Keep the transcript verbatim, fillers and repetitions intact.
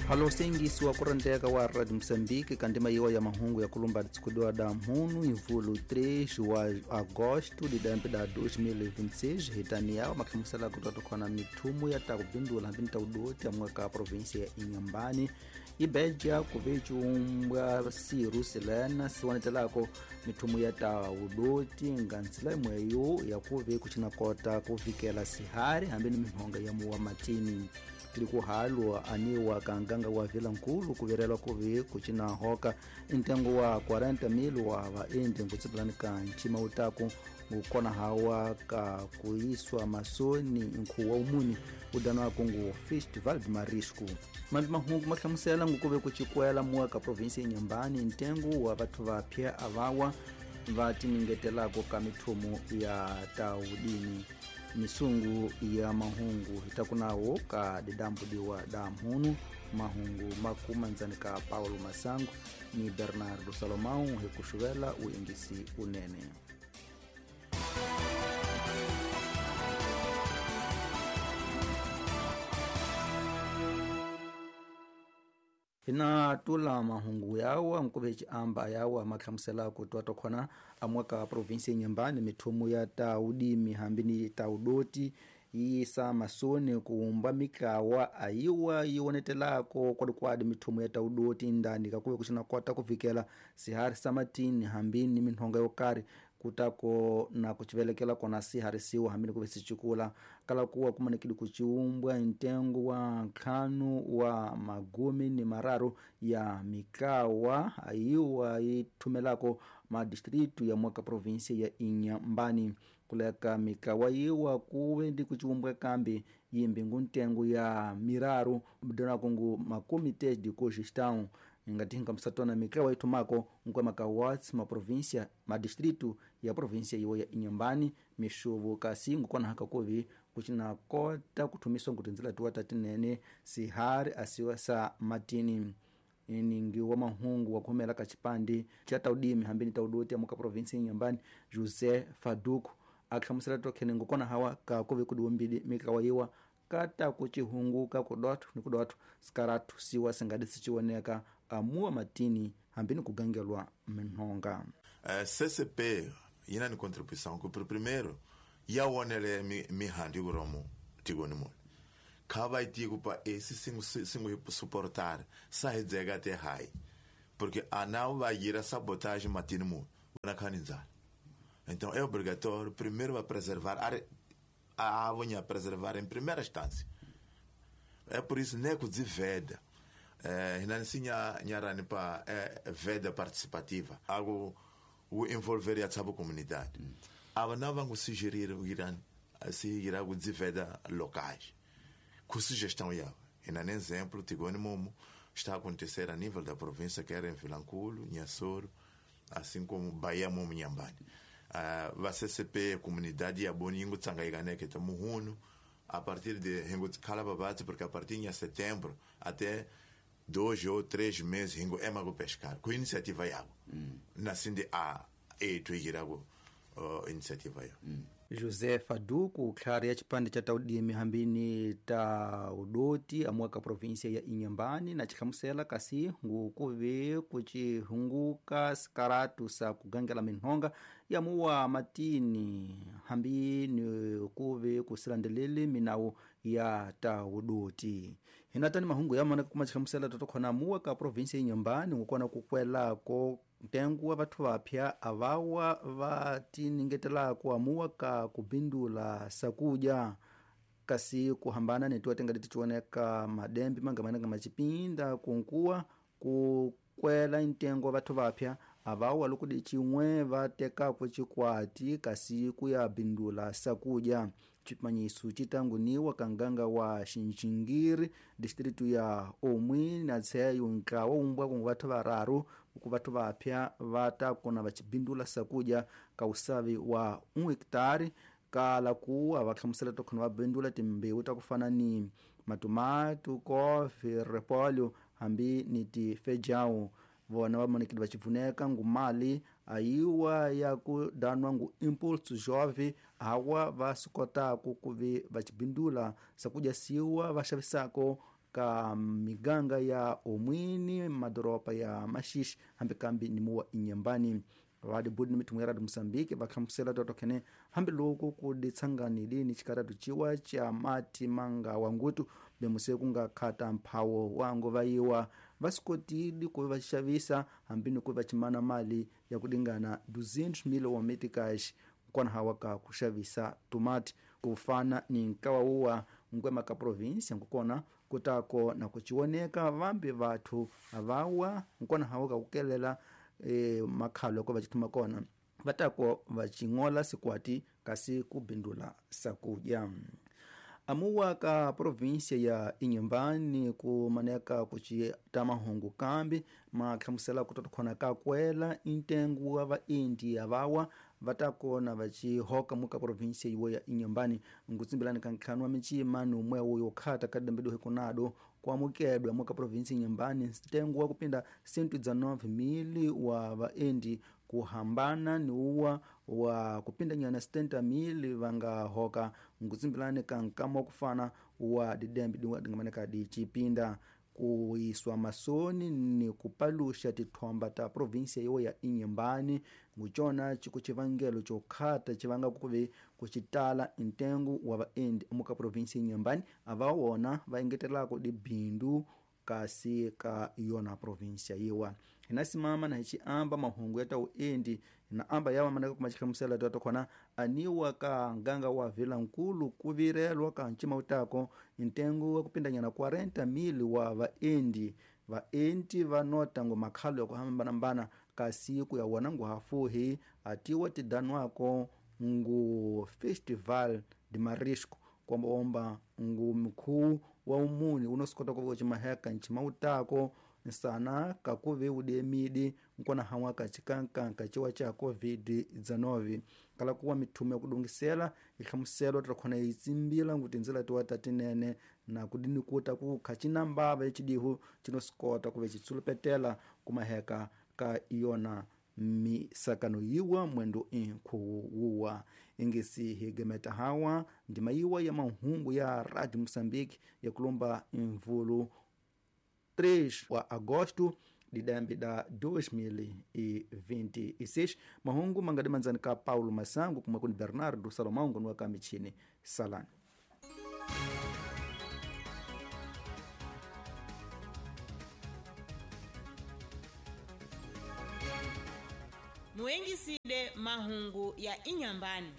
Halo sengisi wa kurendeka wa Radio Moçambique kandima yiwa ya mahungu ya kulumba tsikudiwa da mhunu imvulu três wa agosto de dampe da dois mil e vinte e seis hitania makhamusela kutotokhona mithumu ya takubindula hambi taudoti ya mwaka província ya Inhambane ibeja kuvechumbwa siru silena siwanetelako mithumu ya taudoti ngantsila imweyo yakuve kuchinakota kuvikela sihari hambi ni mihonga ya muwa matini tilikuhalwa aniwa kanganga wa Vila Nkulu kuverelwa kuvi kuchina hoka intengo wa quarenta mil wa vaendi nkutsipilani ka nchima utaku ngukona hawa ka kuiswa masoni nkhuwa umuni udanwa kungu Festival de Marisco mambi mahungu mahlamusela ngukuve kuchikwela muwa ka província Inhambane ntengo wa vathu vapya avawa vatiningetelako ka mithumu ya taudini misungu ya mahungu hitakunawo ka didambudiwa da mhunu mahungu makumanzani ka Paulo Masango ni Bernardo Salomão hikuxuvela uingisi unene. Hina tula mahungu yawa mkuvechi amba yawa maklamusela kutwa tokhona amwaka provinsi Inhambane mithumu ya taudimi hambini taudoti yisa masoni kuumba mikawa ayiwa yiwonetelako kwadikwadi mithumu ya taudoti ndani kakuve kuchina kota kuvikela sihari samatini hambini minhonga yokari kutako na kuchivelekela kona siharisiwa hambini kuve sichikula kala kuwa kumanekidi kuchiumbwa ntengo wa nkhanu wa magumi ni mararu ya mikawa ayiwa ithumelako madistritu ya mwaka província ya Inhambane kuleka mikawa yiwa kuve ndi kuchiumbwa kambi yimbi nguntengo ya miraru mdona kungu makomite de cogestão ngatinga msatona mikawa itumako nkwe makawats ma província ma distrito ya província iwo ya Inhambane mishuvu kasi ngukona haka kuvi kuchina kota kuthumiswa ngutinzila tuwa tatinene sihari asiwa sa matini ningi wa mahungu wa khumela ka chipandi cha taudimi hambini taudoti ya muka província Inhambane José Faduco akhlamusela tokhene ngukona hawa ka kuvi kudiumbidi mikawa yiwa kata kuchihunguka kudotu ni kudotu sikaratu siwa singadi sichiwoneka amua matini hambini kugangelwa minhonga. Uh, C C P ina ni contribuição que primeiro yaonele mihandi kuromo tigoni mole kava itiku pa esse singo singo suportar sahidzega te hai porque anau vai ir a sabotagem matini mu na kaninzala. Então é obrigatório primeiro vai preservar a a avonha preservar em primeira instância. É por isso nego de veda. É, hinansi nyarani pa é, veda participativa. Algo o envolver a sua comunidade. Mm. Ava não vão sugerir o Irã se irá o de veda locais. Com sugestão ya. Hinan exemplo, Tigoni Momo está a acontecer a nível da província que era em Vilanculo, Inhassoro, assim como Bahia Momo Inhambane. Uh, va C C P comunidade ya boningo tsangaiganeke que muhuno a partir de hingo kalababati porque a partir de setembro até dois ou três meses hingo ema go pescar com iniciativa yago mm. Nasinde a e tuigirago uh, iniciativa ya mm. José Faduco tlhari ya chipande cha taudimi hambini taudoti amwaka província ya Inhambane na chikhamusela kasi ngukuve kuchihunguka sikaratu sa kugangela minhonga ya muwa matini hambini kuve kusilandelele minawu ya taudoti hinatani mahungu yamana kuma chikhamusela totokhona muwaka província ya Inhambane ngukona kukwelako ntengo wa vathu vapya avawa va tiningetelako amuwa ka kubindula sakuja kasi kuhambana netiwa tenga tichioneka madembe mangamananga machipinda kunkuwa kukwela ntengo wa vathu vapya avawa lokudi chimwe vatekako chikwati kasi kuya bindula sakuja chimanyisu chitanguniwa kanganga wa Xinxingiri distritu ya Omwi na tseyo nkawa umbwa ku vathu vararu ku vathu vapya vatakona vachibindula sakuja ka usavi wa um hectare kala kuwa vahlamusela tokhona va bindula timbewu ta ku fana ni matomatu, kofi, repolho hambi ni tifejão vona vamonekile vachivuneka ngumali ayiwa ya ku danwa ngu impulso jove awa va swi kotaka ku vi va chibindula swakudya siwa va xavisako ka miganga ya Omwini, madoropa ya Maxixe hambi kambi ni muwa Inhambane. Vadibudi ni mithumu ya Radio Moçambique vahlamusela totokhene hambiloko ku ditsanganile ni xikaratu ciwa xa mati manga wa ngutu bemuse ku nga khata mphawo wa nguva yiwa va swi kotile ku va xavisa hambi ni ku va chimana mali ya ku dingana duzentos mil wa meticais kwanahawa ka ku xavisa tomati ku fana ni nkawa wuwa nkwema ka provinsia nkukona kutako na kuchioneka vambi vathu vawa nkwanahawa ka kukelela e makhalo ko va chithuma kona vatako va chingola sikwati kasi kubindula sakudya. Amuwa ka provinsia ya Inhambane kumaneka kuchita mahungu kambi mahlamusela kutotokhona ka kwela intengo wa vaindia vawa vatakona vachihoka muka provinsia iwo ya Inhambane nkutsimbelani ka ntlhanu wa mincima numwe wo yokhata ka dembe dohe kunado kuamukedwa muka provinsia Inhambane ntengo wa kupinda cento e dezenove mil wa vaendi kuhambana ni uwa wa kupinda nyana setenta mil vangahoka nkutsimbelani ka nkama wa kufana wa didembe dingamaneka dicipinda kuiswa masoni ni kupalusha tithomba ta provinsia iwo ya Inhambane ngucona ciku civangelo cokhata civanga kuve kucitala ntengo wa vaendi muka provinsia Inhambane avawona vaengetelako dibindu kasi ka yona provinsia yiwa. Hinasimama na hichiamba mahungu ya tauendi na amba yawa manaka kumachihlamusela tatokhona aniwa ka nganga wa Vilankulu kuvirelwa ka ncima utako ntengo wa kupindanyana quarenta mil wa vaendi vaendi vanota ngo makhalo ya kuhambanambana kasi ku ya wona ngu hafuhi atiwa tidanwako ngu Festival de Marisco kwamba ngu mkuu wa umuni unosikota kuva cimaheka ncima utako nsana kakuve udemidi nkona hawa kacikankanka ciwa ca covid dezenove kala kuwa mithumu ya kudungisela ihlamuselo takhona yitsimbila ngu tindzila tiwa tatinene na kudinikuta kukha cinambava ecidihu cinosikota kuve citsulupetela kumaheka ka yona misakano yiwa mwendo inkhuwu wuwa ingisi higemeta hawa ndima yiwa ya mahungu ya Radio Moçambique ya kulomba imvulu três wa agosto de dembe da dois mil e vinte e seis. Mahungu mangadi manzani ka Paulo Massango kuma kuni Bernardo Salomão ngonuwa ka michini salani. Muengisile mahungu ya Inhambane.